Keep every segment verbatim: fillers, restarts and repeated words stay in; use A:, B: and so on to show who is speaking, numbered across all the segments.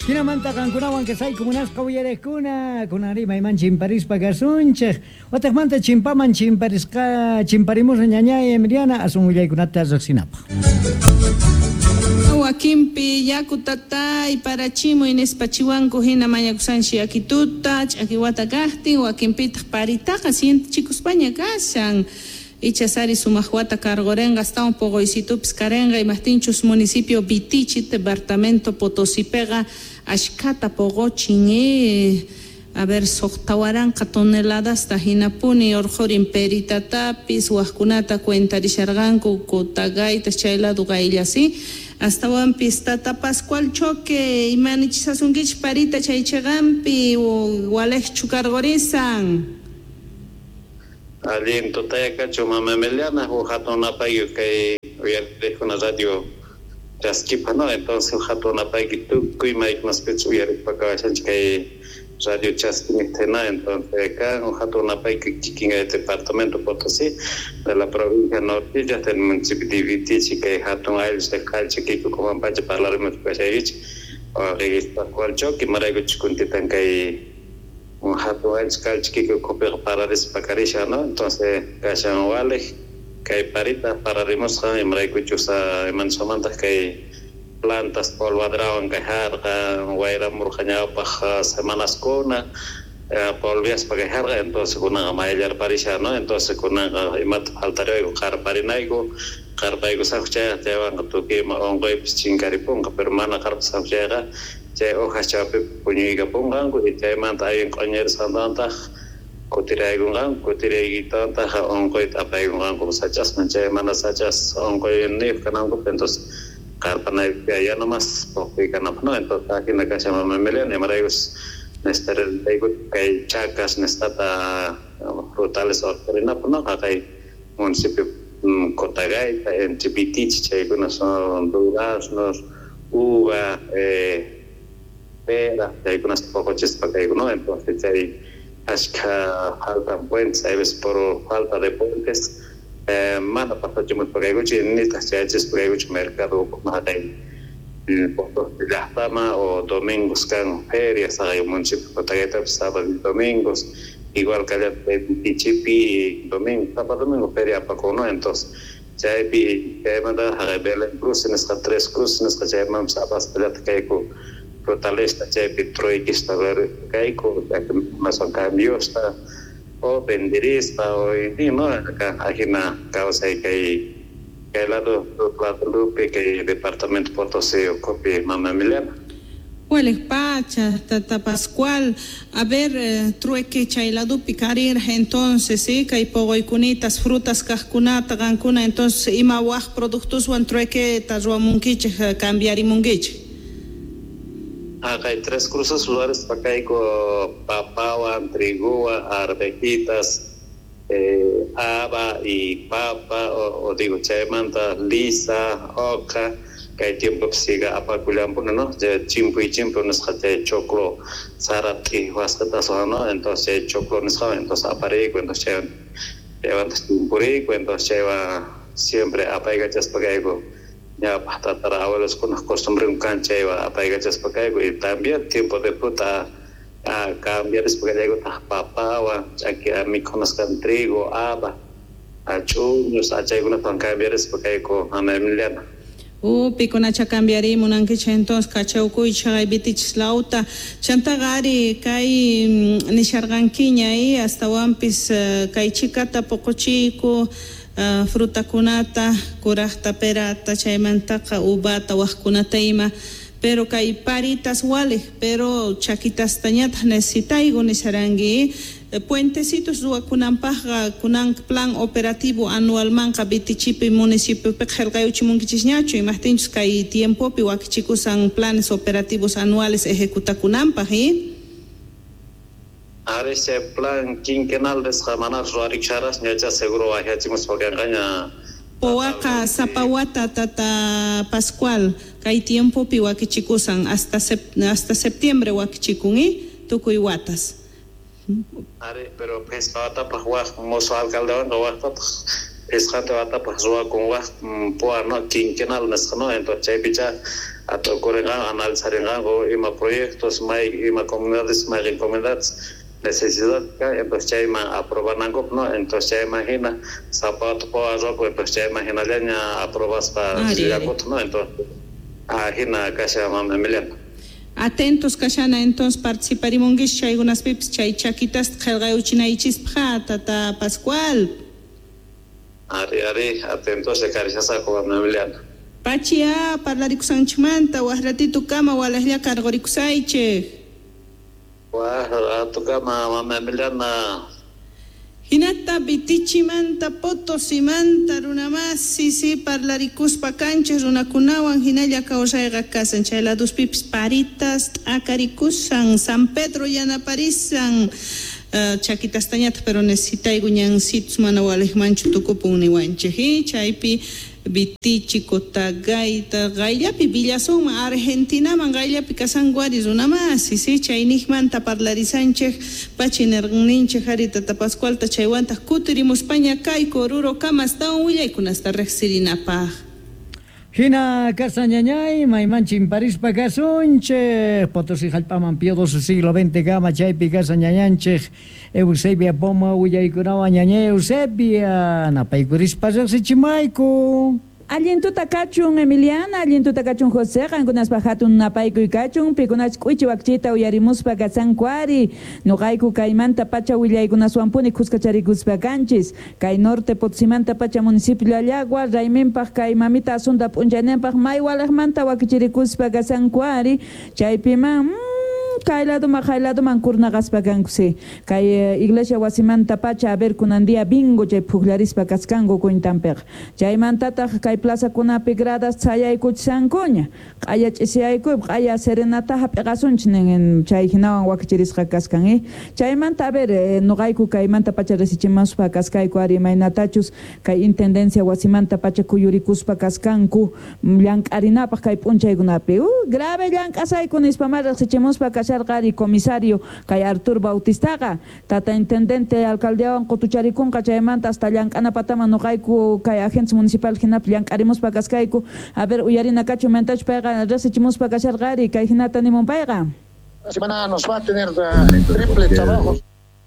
A: Hinamanta qankunawan kasayku munasqa uyariqkuna, kunanri mayman chimparispa kasunchik. Wataqmanta chimpaman chimparisqa chimparimusqa ñañay Emiliana asun willaykunata riqsinapaq.
B: Wakinpi yaku tatay parachimuy nispa chiwanku hina mañakusanchi yakituta ch'akiwata kaqtin wakinpitaq paritaqa sientichikuspaña kashan ichasari sumaq wata karqurinqa astawan puquysitupis karinqa imaqtinchus municipio Vitichi departamento Potosipiqa ashkhata puquchin eh a ver suqta waranqa toneladasta hinapuni urqurin peritatapis waqkunata cuentarisharqanku Cotagaytas chay lado qayllasi astawanpis tata Pascual Choque imanichisasunkichik parita chay chiqanpi waliqchu karqurisan.
C: Allin tutayakachu mama Emiliana huk hatun napayki kay uyariqkuna radio chaskipa, no? Entonces hatun napayki tukuy maykunaspichus uyariqpa kawashanchik kay radio chaskiniqtina. Entonces kan hatun napayki kikin kay departamento Potosí de la provincia Nortilla del municipio de Vitichi kay hatun ayllu kallchakiyku kumanpacha parlarimuspa kashaykichik Pascual Choque imaraykuchus kuntitan kay un hatun ayllu kallchakiyku ukhupiqa pararispa karishan, no? Entonces kashan waliq kay parita pararimusqa imaraykuchus imanisqamantaq kay plantas polvadrawan kay harqa wayramurqa ñawpaq semanaskuna polviaspa kay harqa entonces kunanqa mayllarparishan, no? Entonces kunanqa imata faltariwayku qarparinayku qarpaykusaqku chayqa chaywanqa tukuy ima unquypis chinkaripunqa pero mana qarpasaqku chayqa chay hojas chawpipi puñuykapunqanku y chaymanta allin q'uñirisqantantaq kutiraykunqanku kutiraykitantaq unquyta apaykunqanku sach'asman chay mana sach'as unquyniyuq kanankupaq entonces qarpanayku ya nomás puquy kanapaq, no? Entonces ajina kashan mama Emiliana imaraykus necesitarayku kay chacas nisqata frutales urqurinapaq, no? Haqay municipio Cotagaita entre Vitichi chaykuna son duraznos, uva, eh, pera chaykunasta puquchispa kayku, no? Entonces chay ashkha faltan puentes, hay veces por falta de puentes eh, mana pasachimuspa kaykuchik nitaq chayachispa kaykuchik mercado haqay llaqtaman o domingos kan ferias haqay municipio Cotagaitapi sábado y domingos igual kallataq Vitichipi domingo sapa domingo feria apakun, no? Entonces chaypi chaymanta haqay Belén Cruz nisqa Tres Cruces nisqa chaymanpis apaspallataq kayku frutalesta chaypi truequista kayku son cambiosta o venderispa o no ajina kawsay kay kay lado ladopi kay departamento Potosí ukhupi mama Emiliana.
B: Waliq pacha, tata Pascual, a ver, eh, trueque chay ladupi karirqa entonces, ¿sí? Kay puquykunitas, frutas kaqkunata qankuna, entonces ima waq productoswan truequeta ruwamunkichik, cambiarimunkichik.
C: Haqay Tres Cruces ruwarispa kayku papawan, triguwan, arvejitas, eh, haba y papa, o, o digo chaymanta lisa, oca, kay tiempopi siga apakullanpuni, no? Chimpuy chimpu nisqa chay choclo sara t'iwasqataswan, no? Entonces chay choclo nisqawan entonces apariyku entonces chaywan chaywantaq chimpuriyku entonces chaywan siempre apaykachaspa kayku ñawpaq tatara abueloskunaq costumbrenku kan chaywan apaykachaspa kayku y también tiempo de fruta cambiarispa kallaykutaq papawan ch'aki mikhunasqan trigo, haba, ch'uñus chaykunatawan cambiarispa kayku mama Emiliana.
B: Uh, pikunacha cambiari munankichik entonces kachawkuychik chaqay Vitichis lawta chantaqa ari kay nisharqankiña y astawanpis kay chikata puquchiyku uh, frutakunata kuraqta perata chaymantaqa uvata waqkunata ima pero kay paritas waliq pero chakitastañataq necesitayku nisharanki puentecitos ruwakunanpaqqa kunan plan operativo anualmanqa Vitichipi municipiopiqa qillqayuchimunkichisñachu imaqtinchus kay tiempopi wakichikusan planes operativos anuales ejecutakunanpaq y
C: Ari chay plan quinquenal nisqa mana ruwarikusharasña ñacha seguro wahiachimuspa kanqaña.
B: Powaqa sapa wata tata Pascual kay tiempopi wakichikusan hasta sep, hasta septiembre wakichikun y tukuy watas.
C: Ari, pero phisqa watapaq waq musuq alcaldewanqa waqtataq phisqanta watapaq ruwakun waq poa, no? Quinquenal nisqa, no? Entonces chaypicha Atukurinqanku, analizarinqanku ima proyectos, may ima comunidades, may comunidades necesidad entonces chayman aprobanankupaq, no? Entonces chayman hina zapato arropo, entonces chayman hinallaña aprobaspa llakutaq, no? Entonces hina kasha mama Emiliana.
B: Atentos kashana entonces participarimunkichis chaykunaspipis chay chakitas qillqayuchinaychispaq tata Pascual.
C: Ari ari atentos karishasaqu mama Emiliana.
B: Pachia parlarikusanchikmanta waq ratito kama walaqlla karqurikusaychik.
C: Waq ratukama mama Emiliana.
B: Hinata Vitichimanta Potosimanta runamasi si parlarikuspa kanchis runakunawan hinalla kawsayqa kasan chay laduspipis paritas t'akarikusan San Pedro yanaparisan uh, chakitastañataq pero necesitayku ñansitus mana waliqmanchu tukupun niwanchik chaypi Vitichi, Cotagaita, qayllapi Villasunman, Argentinaman qayllapi kasanku ari runamasi, si chayniqmanta parlarisanchik pachi nirqanninchik ari tata Pascualta chaywantaq kutirimuspaña kayku Oruro kama astawan willaykunasta riqsirinapaq.
A: Hina kasañañay, mayman chimparispa kasunchik, Potosí jallp'aman Pío doce siglo veinte kama chaypi kasañañanchik, Eusebia Poma willaykunawan ñañay Eusebia, napaykurispa riqsichimayku.
D: Allintuta kachun Emiliana, allintuta kachun José, qankunaspa hatun napaykuy kachun, pikunach k'uichi wakchita uyarimuspa kasanku ari, nuqayku kaymanta pacha willaykunaswanpuni kuskacharikuspa kanchis, kay norte Potosimanta pacha municipio Llallagua, rayminpaq kay mamita asunta p'unchayninpaq may walaqmanta wakichirikuspa kasanku ari, chaypiman mm, kay laduman kay laduman kurnaqaspa kanku si kay eh, iglesia wasimanta pacha a ver kunan día bingo chay pukllarispa kaskanku kuntanpiqa chaymantataq kay plazakunapi gradas chayaykuchisankuña q'aya ch'isiyaykuy q'aya serenata hap'iqasunchik nin chay hinawan wakichirisqa kaskan eh chaymanta a ver eh, nuqayku kaymanta pacha risichimaspa kaskayku ari imaynatachus kay intendencia wasimanta pacha kuyurikuspa kaskanku llank'arinapaq kay p'unchaykunapi uh, grave llank'asayku nispa ma riqsichimuspa kasharqari comisario kay Artur Bautistaqa tata intendente alcaldeawan qutucharikunqa chaymanta hasta llank'anapataman nuqayku kay agentes municipal hinapi llank'arimuspa kaskayku a ver uyarina kachu mantach payqa riqsichimuspa kasharqari kay hinata nimun payqa.
E: La semana nos va a tener uh, triple trabajo.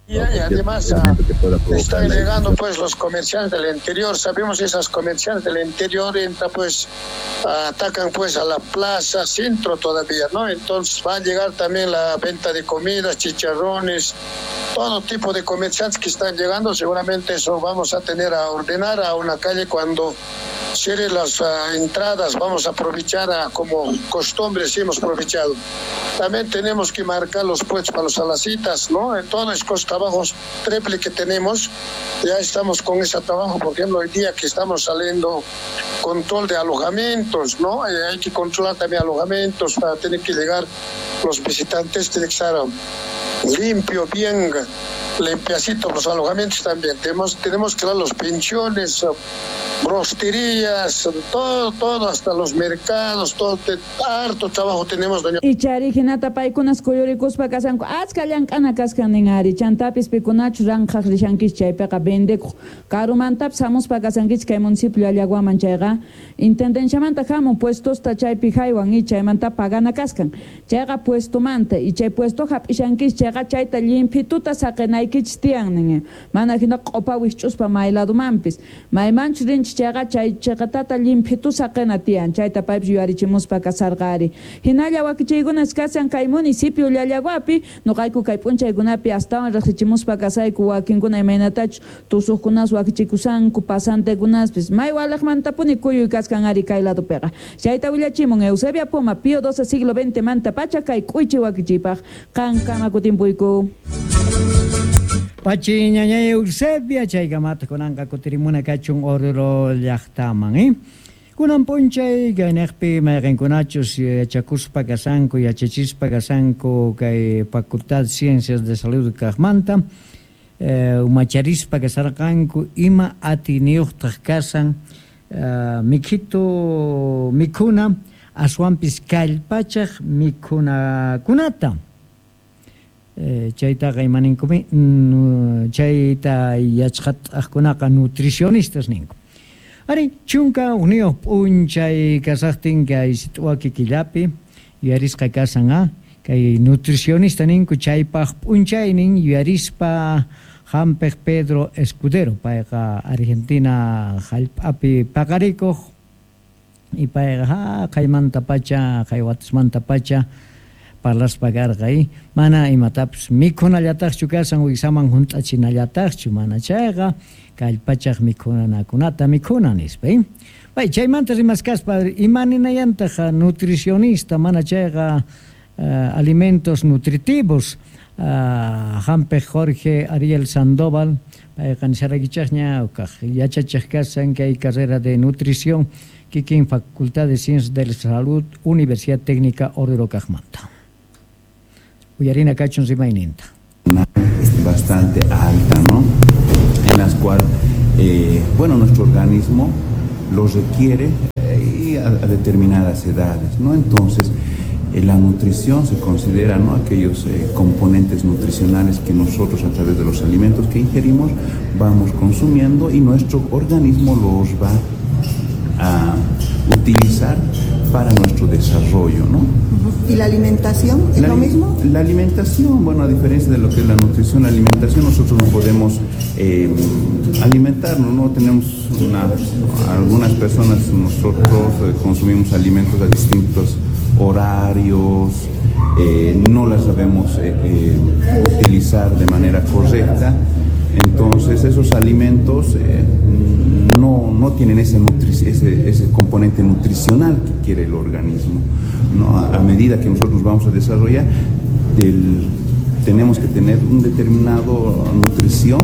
E: Y además uh, están llegando pues los comerciantes del interior, sabemos esas comerciantes del interior entra pues uh, atacan pues a la plaza centro todavía, ¿no? Entonces va a llegar también la venta de comidas, chicharrones, todo tipo de comerciantes que están llegando, seguramente eso vamos a tener a ordenar a una calle cuando cierre las uh, entradas, vamos a aprovechar a, como costumbre sí hemos aprovechado. También tenemos que marcar los puestos para los alacitas, ¿no? En todos estos trabajos triple que tenemos, ya estamos con ese trabajo, por ejemplo, hoy día que estamos saliendo control de alojamientos, ¿no? Eh, hay que controlar también alojamientos para tener que llegar los visitantes, tiene que estar limpio, bien limpiacito los alojamientos también. Tenemos, tenemos que dar los pensiones, brosterías, todo, todo, hasta los mercados, todo, te, harto trabajo tenemos, doña.
D: Y chari hinata paykunas kuyurikuspa kasanku achka llank'ana kaskan nin ari chantapis pikunachu ranqhaq rishankichik chaypiqa vendekuq karumantapis hamuspa kasankichik kay municipio Llallaguaman chayqa intendenciamanta hamun puestosta chaypi haywan y chaymanta pagana kaskan chayqa puestomanta y chay puesto hap'ishankichik chayqa chayta llimpituta saqinaykichik tiyan nin mana hina q'upa wikch'uspa may ladumanpis maymanchu rinchik chayqa chay chiqatata llimphitu saqina tiyan chayta paypis yuyarichimuspa kasarqa ari hinalla wakichiykunas kasan kay municipio Llallaguapi nuqayku kay p'unchaykunapi astawan riqsichimuspa kasayku wakinkuna imaynatachus tusuqkunas wakichikusanku pasantekunaspis may walaqmantapuni kuyuy kaskan ari kay ladupiqa chayta willachimun Eusebia Poma Pío doce siglo veinte manta pacha kay k'uychi wakichiypaq qankama kutimpuyku.
A: Pachi ñañay Eusebia chaykamata kunanqa kutirimuna kachun Oruro llaqtaman, eh? Kunan p'unchay kayniqpi mayqinkunachus yachakuspa kasanku yachachispa kasanku kay Facultad Ciencias de Salud kaqmanta eh, umacharispa kasarqanku ima atiniyuqtaq kasan eh, mikhito mikhuna aswanpis kallpachaq mikhunakunata. Eh, chaytaqa imaninkumi chayta yachqataqkunaqa nutricionistas ninku. Ari chunka hukniyuq p'unchay kasaqtin kay sit'waki killapi yuyarisqa kasan a kay nutricionista ninku chaypaq p'unchaynin yuyarispa hampiq Pedro Escudero payqa Argentina hallp'api paqarikuq y payqa ha qaymantapacha qaywatasmantapacha parlaspa karqa mana imatapis mikhunallataqchu kasan wiksaman hunt'achinallataqchu mana chayqa kallpachaq mikhunakunata mikhuna nispa. Pay chaymanta rimaskaspa imaninayantaq nutricionista mana chayqa uh, alimentos nutritivos uh, hampiq Jorge Ariel Sandoval payqa nisarakichaqña kaq yachachaq kasan kay carrera de nutrición kikin Facultad de Ciencias de la Salud Universidad Técnica Oruro kaqmanta. Uyarina kachun rimayninta.
F: Bastante alta, ¿no? En las cuales, eh, bueno, nuestro organismo lo requiere eh, a, a determinadas edades, ¿no? Entonces, eh, la nutrición se considera, ¿no?, aquellos eh, componentes nutricionales que nosotros a través de los alimentos que ingerimos vamos consumiendo y nuestro organismo los va a utilizar para nuestro desarrollo, ¿no?
G: ¿Y la alimentación es
F: la,
G: lo mismo?
F: La alimentación, bueno, a diferencia de lo que es la nutrición, la alimentación nosotros no podemos eh, alimentarnos, ¿no? Tenemos una, algunas personas, nosotros eh, consumimos alimentos a distintos horarios, eh, no las sabemos eh, eh, utilizar de manera correcta. Entonces esos alimentos eh, no, no tienen ese, nutri- ese, ese componente nutricional que quiere el organismo, ¿no? A, a medida que nosotros vamos a desarrollar, del, tenemos que tener un determinado nutrición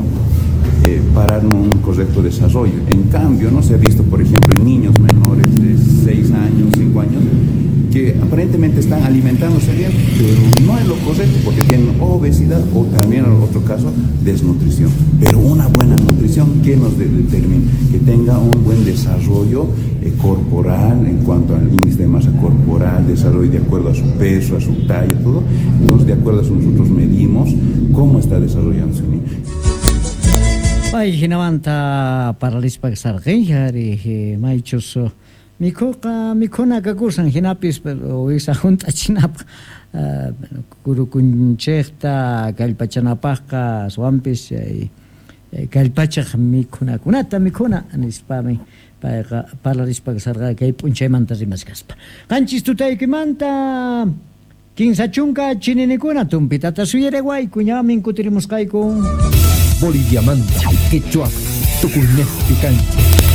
F: eh, para un correcto desarrollo. En cambio, no se ha visto, por ejemplo, en niños menores de seis años, cinco años, que aparentemente están alimentándose bien, pero no es lo correcto porque tienen obesidad o también, en otro caso, desnutrición. Pero una buena nutrición, ¿qué nos de- determina? Que tenga un buen desarrollo eh, corporal en cuanto al índice de masa corporal, desarrollo de acuerdo a su peso, a su talla, todo. Entonces, de acuerdo a eso nosotros medimos cómo está desarrollándose un niño.
A: Pay hinamanta paralispa sarqi ari maychus mikhuqa mikhuna kakusan hinapis wisa hunt'achinapaq kurukunchikta kallpachanapaqqa aswanpis kallpachaq mikhunakunata mikhuna nispami payqa parlarispa sarqa kay p'unchaymanta rimaskaspa. Qanchis tutaykimanta kinsa chunka chininikuna tumpitata suyarewayku ñamin kutirimusqayku.
H: Boliviamanta, Quechua, Tucumán, Picanche.